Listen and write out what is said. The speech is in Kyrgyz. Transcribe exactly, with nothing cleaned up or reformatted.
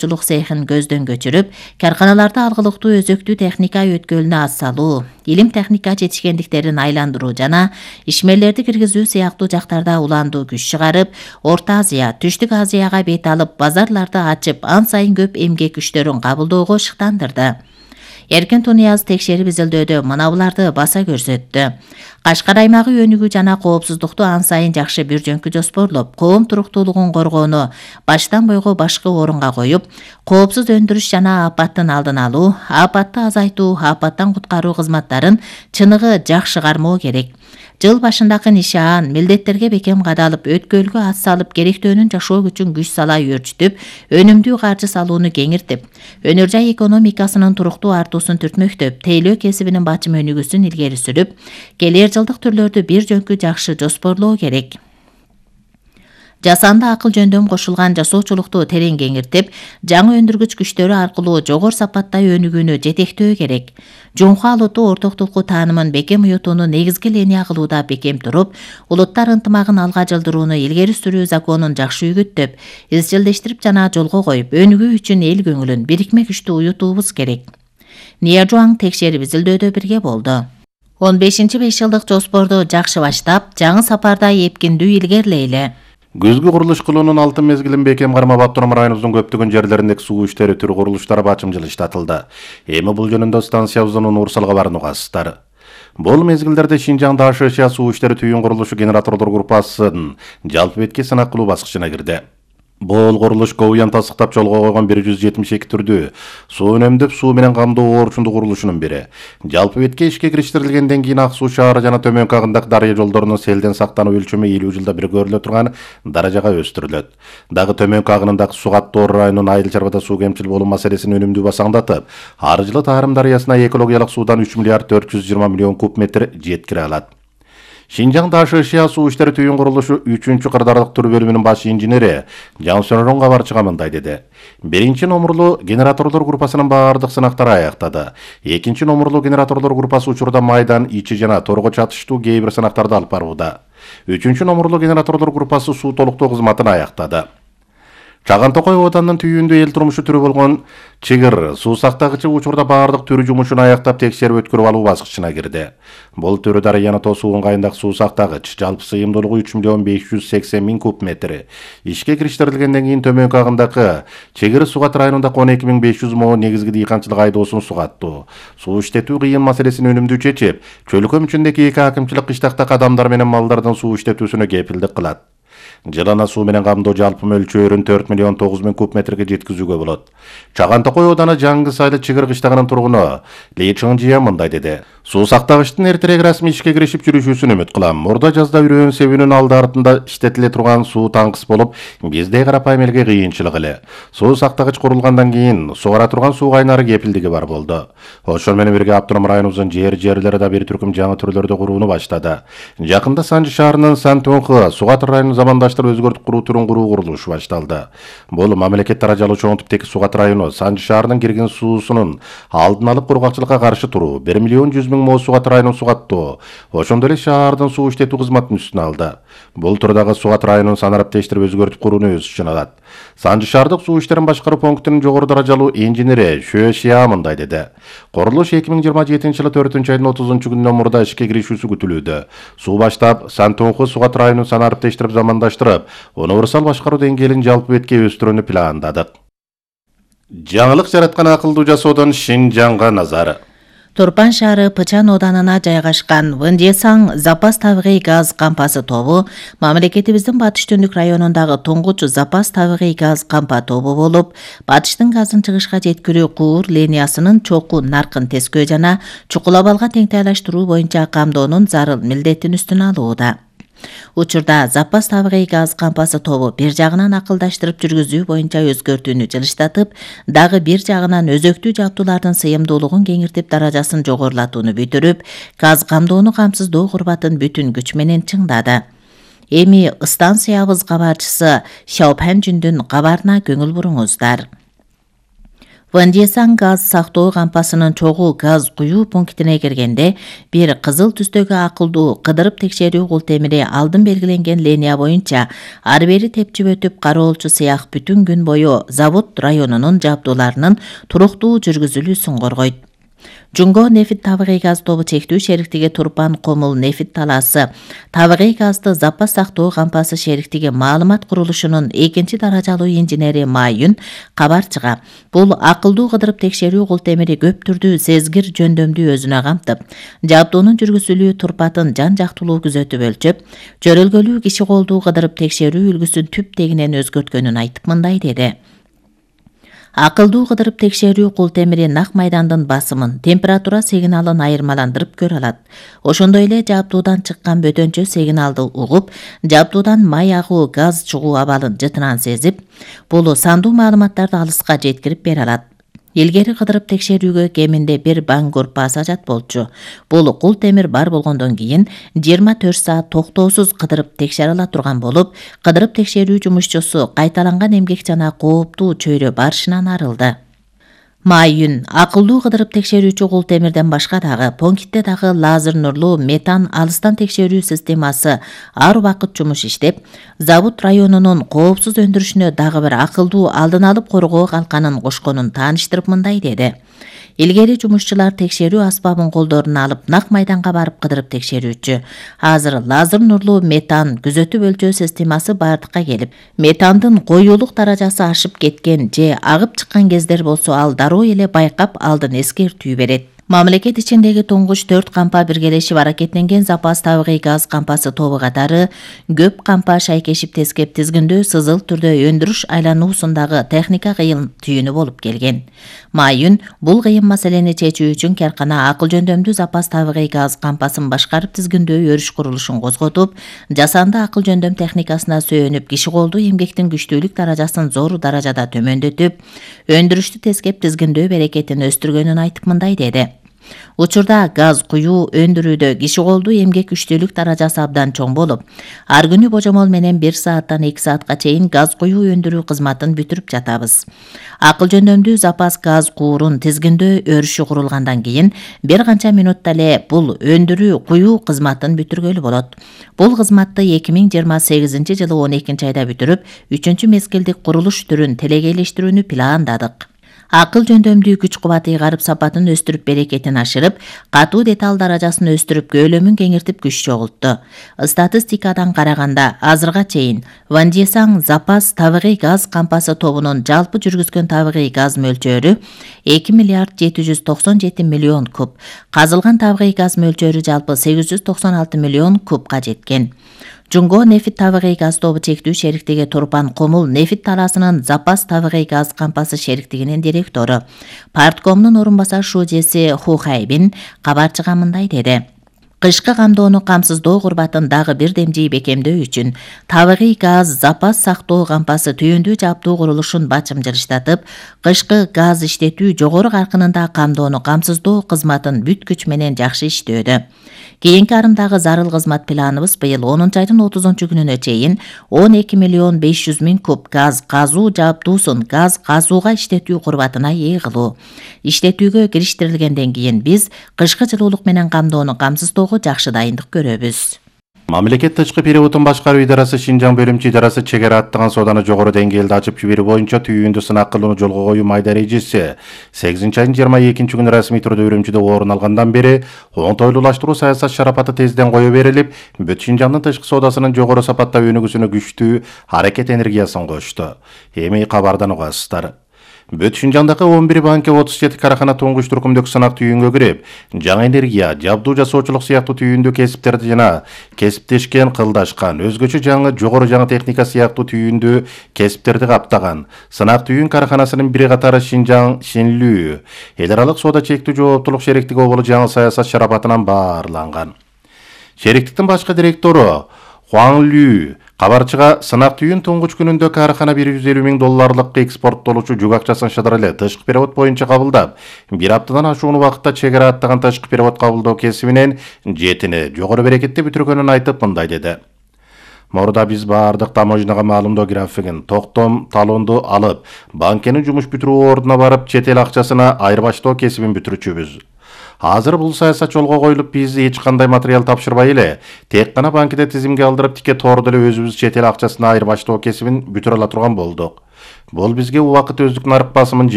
чулук цехин көздөн көчүрүп, карканаларда алгылыктуу өзөктүү техника өткөлүнө ат салуу, илим техника жетишкендиктерин айландыруу жана ишмерлерди киргизүү сыяктуу жактарда уландуу күч чыгарып, Орто Азия, Түштүк Азияга бет алып, базарларды ачып, ан сайын көп эмгек күчтөрүн кабылдоого шыктандырды. Эркин Тунияз текшерип изилдөөдө мына буларды баса көрсөттү. Кашкар аймагы өнүгүү жана коопсуздукту ан сайын жакшы бир жөнкү жоспорлоп, коом туруктуулугун коргоону баштан бойго башкы орунга коюп, коопсуз өндүрүш жана апаттын алдын алуу, апатты азайтуу, апаттан куткаруу кызматтарын чыныгы жакшы кармоо керек. Жыл башындагы нишаан милдеттерге бекем кадалып, өткөлгө ат салып, керектөөнүн жашоо күчүн күч сала өөрчүтүп, өнүмдүү каржы салууну кеңиртип, өнөр жай экономикасынын туруктуу артуусун түртмөктөп, тейлөө кесибинин бачым өнүгүүсүн илгери сүрүп, келер жылдык түрлөрдү бир жөнкү жакшы жоспорлоо керек. Жасанды акыл жөндөм кошулган жасоочулукту терең кеңиртип, жаңы өндүргүч күчтөрү аркылуу жогору сапаттай өнүгүүнү жетектөө керек. Жумха улуту ортоктулуку таанымын бекем уютууну негизги линия кылууда бекем туруп, улуттар ынтымагын алга жылдырууну илгери сүрүү законун жакшы үгүттөп, изчилдештирип жана жолго коюп, өнүгүү үчүн эл көңүлүн бирикме күчтүү уютуубуз керек. Ния Жуаң текшерип изилдөөдө бирге болду. он бешинчи беш жылдык жоспорду жакшы баштап, жаңы сапарда эпкиндүү илгерилейли. Күзгү курулуш кылуунун алтын мезгилин бекем кармап, Автономдун районубуздун көптөгөн жерлериндеги суу иштери түр курулуштары бачым жылыштатылды. Эми бул жөнүндө станциябыздын Урсалга барууну угасыздар. Бул мезгилдерде Шинжаңда АШЧ суу иштери түйүн курулушу генераторлор группасынын жалпы бетке сынак кылуу баскычына кирди. Бул курулуш Ковуян тасыктап жолго койгон бир жүз жетимиш эки түрдүү суу үнөмдөп суу менен камдоо орчундуу курулушунун бири. Жалпы бетке ишке кириштирилгенден кийин Ак суу шаары жана төмөнкү агындагы дарыя жолдорунун селден сактануу өлчөмү элүү жылда бир көрүлө турган даражага өстүрүлөт. Дагы төмөнкү агынындагы Сугаттор районунун Айыл чарбада суу кемчил болуу маселесин өнүмдүү басаңдатып, ар жылы Таарым дарыясына экологиялык суудан үч миллиард төрт жүз жыйырма миллион куб метр жеткире алат. Шинжаңда АШЧ суу иштери түйүн курулушу үчүнчү кырдаалдык түр бөлүмүнүн баш инженери Жансөнөрөн кабарчыга мындай деди. Биринчи номурлуу генераторлор группасынын баардык сынактары аяктады. Экинчи номурлуу генераторлор группасы учурда майдан, ичи жана торго чатыштуу кээ бир сынактарды алып барууда. Үчүнчү номурлуу генераторлор группасы суу толуктоо кызматын аяктады. Чаган Токой оданын түйүндө эл турмушу түрү болгон чыгыр суу сактагычы учурда баардык түрү жумушун аяктап текшерип өткөрүп алуу баскычына кирди. Бул түрү дарыяны тосуу ыңгайындагы суу сактагыч жалпы сыйымдуулугу үч миллион беш жүз сексен миң куб метр. Ишке кириштирилгенден кийин төмөнкү агындагы Чыгыр Сугат районундагы он эки миң беш жүз мо негизги дыйканчылык айдоосун сугаттуу. Суу иштетүү кыйын маселесин өнүмдүү чечип, чөлкөм ичиндеги эки акымчылык кыштактагы адамдар менен малдардын суу иштетүүсүнө кепилдик кылат. Жылына суу менен камдоо жалпы мөлчөрүн төрт миллион тогуз миң куб метрге жеткизүүгө болот. Чаган Токой ооданы Жаңгы Сайлы Чыгыр кыштагынын тургуну Ли Чыңжия мындай деди. Суу сактагычтын эртерээк расмий ишке киришип жүрүшүүсүн үмүт кылам. Мурда жазда үрөөн себүүнүн алды артында иштетиле турган суу таңкыс болуп, бизде карапайым элге кыйынчылык эле. Суу сактагыч курулгандан кийин сугара турган суу кайнары кепилдиги бар болду. Ошол менен бирге Автоном районубуздун жер жерлери да бир түркүм жаңы түрлөрдү курууну баштады. Жакында Санжы шаарынын Сан-Тонхы Сугат районун замандаштырып өзгөртүп куруу түрүн куруу курулушу башталды. Бул мамлекет даражалуу чоң типтеги Сугат району Санжы шаарынын кирген суусунун алдын алып кургакчылыкка каршы туруу, бир миллион жүз миң мо Сугат районун сугаттоо, ошондой эле шаардын суу иштетүү кызматын үстүнө алды. Бул турдагы Сугат районун санараптештирип өзгөртүп курууну өз ичине алат. Санжы шаардык суу иштерин башкаруу пунктунун жогору даражалуу инженери Шө Шия мындай деди. Курулуш эки миң жыйырма жетинчи жылы төртүнчү айдын отузунчу күнүнөн мурда ишке киришүүсү күтүлүүдө. Суу баштап Сан-Тонхы Сугат районун санараптештирип замандаштырып, универсал башкаруу деңгээлин жалпы бетке өстүрүүнү пландадык. Жаңылык жараткан акылдуу жасоодон Шинжаңга назар. Турпан шаары Пычан оданына жайгашкан Вындесаң запас табигый газ кампасы тобу мамлекетибиздин Батыш Түндүк районундагы туңгуч запас табигый газ кампа тобу болуп, батыштын газын чыгышка жеткирүү куур линиясынын чокуу наркын тескөө жана чукулабалга теңтайлаштыруу боюнча камдоонун зарыл милдетин үстүнө алууда. Учурда запас табигый газ кампасы тобу бир жагынан акылдаштырып жүргүзүү боюнча өзгөртүүнү жылыштатып, дагы бир жагынан өзөктүү жабдуулардын сыйымдуулугун кеңиртип даражасын жогорулатууну бүтүрүп, газ камдоону камсыздоо курбатын бүтүн күч менен чыңдады. Эми станциябыз кабарчысы Шаопан Жүндүн кабарына көңүл буруңуздар. Вандисан газ сактоо кампасынын чогуу газ куюу пунктине киргенде бир кызыл түстөгү акылдуу кыдырып текшерүү култемири алдын белгиленген линия боюнча ары бери тепчип өтүп кароолчу сыяк бүтүн күн бою завод районунун жабдууларынын туруктуу жүргүзүлүүсүн коргойт. Жунго нефит табигый газ тобу чектүү шериктиги Турпан Комул нефит талаасы табигый газды запас сактоо кампасы шериктиги маалымат курулушунун экинчи даражалуу инженери Майюн кабарчыга бул акылдуу кыдырып текшерүү култемири көп түрдүү сезгир жөндөмдү өзүнө камтып, жабдуунун жүргүзүлүү турпатын жан жактылуу күзөтүп өлчөп, жөрөлгөлүү киши колдуу кыдырып текшерүү үлгүсүн түп тегинен өзгөрткөнүн айтып мындай деди. Акылдуу кыдырып текшерүү култемири нак майдандын басымын, температура сигналын айырмаландырып көрө алат. Ошондой эле жабдуудан чыккан бөтөнчө сигналды угуп, жабдуудан май агуу, газ чыгуу абалын жытынан сезип, бул сандуу маалыматтарды алыска жеткирип бере алат. Илгери кыдырып текшерүүгө кеминде бир баңгур пассажат болчу. Бул култемир бар болгондон кийин жыйырма төрт саат токтоосуз кыдырып текшере ала турган болуп, кыдырып текшерүү жумушчусу кайталанган эмгек жана кооптуу чөйрө барышынан арылды. Майюн акылдуу кыдырып текшерүүчү култемирден башка дагы пунктте дагы лазер нурлуу метан алыстан текшерүү системасы ар убакыт жумуш иштеп, завод районунун коопсуз өндүрүшүнө дагы бир акылдуу алдын алып коргоо калканын кошконун тааныштырып мындай деди. Илгери жумушчулар текшерүү аспабын колдоруна алып нак майданга барып кыдырып текшерүүчү. Азыр лазер нурлуу метан күзөтүп өлчөө системасы бардыкка келип, метандын коюулук даражасы ашып кеткен же агып чыккан кездер болсо ал дароо эле байкап алдын эскертүү берет. Мамлекет ичиндеги туңгуч төрт кампа биргелешип аракеттенген запас табигый газ кампасы тобу катары көп кампа шайкешип тескеп тизгиндөө сызыл түрдө өндүрүш айлануусундагы техника кыйын түйүнү болуп келген. Майюн бул кыйын маселени чечүү үчүн каркана акыл жөндөмдүү запас табигый газ кампасын башкарып тизгиндөө өрүш курулушун козготуп, жасанды акыл жөндөм техникасына сөөнүп, киши колдуу эмгектин күчтүүлүк даражасын зор даражада төмөндөтүп, өндүрүштү тескеп тизгиндөө берекетин өстүргөнүн айтып мындай деди. Учурда газ куюу өндүрүүдө киши колдуу эмгек күчтүүлүк даражасы абдан чоң болуп, ар күнү божомол менен бир сааттан эки саатка чейин газ куюу өндүрүү кызматын бүтүрүп жатабыз. Акыл жөндөмдүү запас газ куурун тизгиндөө өрүшү курулгандан кийин бир канча минутта эле бул өндүрүү куюу кызматын бүтүргөлү болот. Бул кызматты эки миң жыйырма сегизинчи жылы он экинчи айда бүтүрүп, үчүнчү мезгилдик курулуш түрүн телегейлештирүүнү пландадык. Акыл жөндөмдүү күч кубаты ыйгарып сапатын өстүрүп берекетин ашырып, катуу деталь даражасын өстүрүп көөлөмүн кеңиртип күч чогултту. Статистикадан караганда азырга чейин Вандисан запас табигый газ кампасы тобунун жалпы жүргүзгөн табигый газ мөлчөрү эки миллиард жети жүз токсон жети миллион куб, казылган табигый газ мөлчөрү жалпы сегиз жүз токсон алты миллион кубка жеткен. Жунго нефит табигый газ тобу чектүү шериктиги Турпан Комул нефит талаасынын запас табигый газ кампасы шериктигинин директору, парткомдун орун басар шужеси Ху Хайбин кабарчыга мындай деди. Кышкы камдоону камсыздоо курбатын дагы бир демжий бекемдөө үчүн табигый газ запас сактоо кампасы түйүндүү жабдуу курулушун бачымжырыштатып, кышкы газ иштетүү жогору каркынында камдоону камсыздоо кызматын бүт күч менен жакшы иштөөдө. Кийинки арымдагы зарыл кызмат планыбыз быйыл онунчу айдын отузунчу күнүнө чейин он эки миллион беш жүз миң куб газ казуу жабдуусун газ казууга иштетүү курбатына ээ кылуу. Иштетүүгө кириштирилгенден кийин биз кышкы жылуулук менен камдоону камсыздоого жакшы дайындык көрөбүз. Мамлекет тышкы переводун башкаруу идарасы Шинжаң бөлүмчү идарасы чегара аттаган сооданы жогору деңгээлде ачып жиберүү боюнча түйүндү сынак кылууну жолго коюу майда эрежеси сегизинчи айдын жыйырма экинчи күнү расмий түрдө Үрүмчүдө орун алгандан бери оңтойлуулаштыруу саясат шарапаты тезден кое берилип, бүт Шинжаңдын тышкы соодасынын жогору сапатта өнүгүүсүнө күчтүү аракет энергиясын кошту. Эми кабардан угасыздар. Бүт Шинжаңдагы он бир банка отуз жети карахана туңгуч түркүмдүк сынак түйүнгө кирип, жаңы энергия, жабдуу жасоочулук сыяктуу түйүндүү кесиптерди жана кесиптешкен, кылдашкан, өзгөчө жаңы жогору жаңы техника сыяктуу түйүндүү кесиптерди каптаган сынак түйүн караханасынын бир катары Шинжаң Шинлүү эл аралык соода чектүү жооптулук шериктиги оболу жаңы саясат шарапатынан баарланган. Шериктиктин башкы директору Хуан Лю кабарчыга сынак түйүн туңгуч күнүндө карахана бир жүз элүү миң долларлык экспорттолуучу жүк акчасын шыдыр эле тышкы перевод боюнча кабылдап, бир аптадан ашуун убакытта чегара аттаган тышкы перевод кабылдоо кесибинен жетини жогору берекетти бүтүргөнүн айтып мындай деди. Мурда биз баардык таможняга маалымдоо графигин, токтом талонду алып, банкенин жумуш бүтүрүү ордуна барып, чет эл акчасына айырбаштоо кесибин бүтүрүчүбүз. Азыр бул саясат жолго коюлуп, биз эч кандай материал тапшырбай эле, тек гана банкиде тизимге алдырып, тике тоордо эле өзүбүз чет эл акчасына айырбаштоо кесибин бүтүрө ала турган болдук. Бул бизге убакыт өздүк нарык басымын